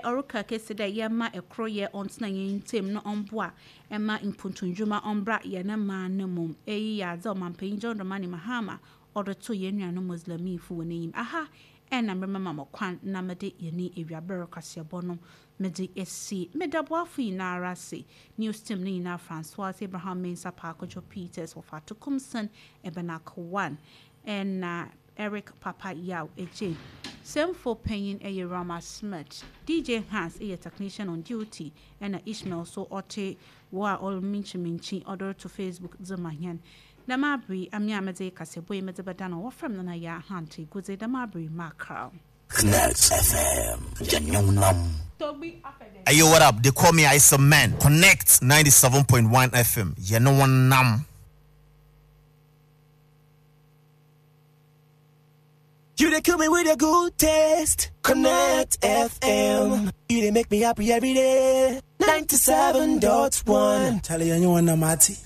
Ɔreka kesi dɛ yɛmma koroyɛ ɔntsena hɛn ntamu na ɔmboa mma mpuntundwuma ɔmbra hɛn man no mu. Iyi yɛ adze a Ɔmampanyin John Dramani Mahama ɔdze too hɛn nuanom Muslimifo hɔn enyim. Aha na meremema mo kwan na mede yɛne ewiaber kaseɛbɔ no mede esi. Meda boafo nyinara ase, news team no nyinaa, Francois Abraham Mensah Paakojo Peters, Wɔfa Kumson, Ebenak One, ɛna Eric Papa Yaw Adjei. Sɛmfo panyin ɛyɛ Rama Smith. DJ Hans ɛyɛ technician on duty, ɛna Ishmael so ɔte wɔ a ɔreminkyiminkyi ɔde reto Facebook dze ma hɛn. Dɛm aber yi, ame a medze kaseɛbɔ yi medze bɛda no, wɔfrɛ me Nana Yaa Ahante Godze. Dɛm aber yi, makra. Connect FM, Yanyonam. Hey yo, what up? They call me Isa Man. Connect 97.1 FM. Yanyonam. You dey kill me with a good taste. Connect FM. You dey make me happy every day. 97.1. Charlie, you want Mati?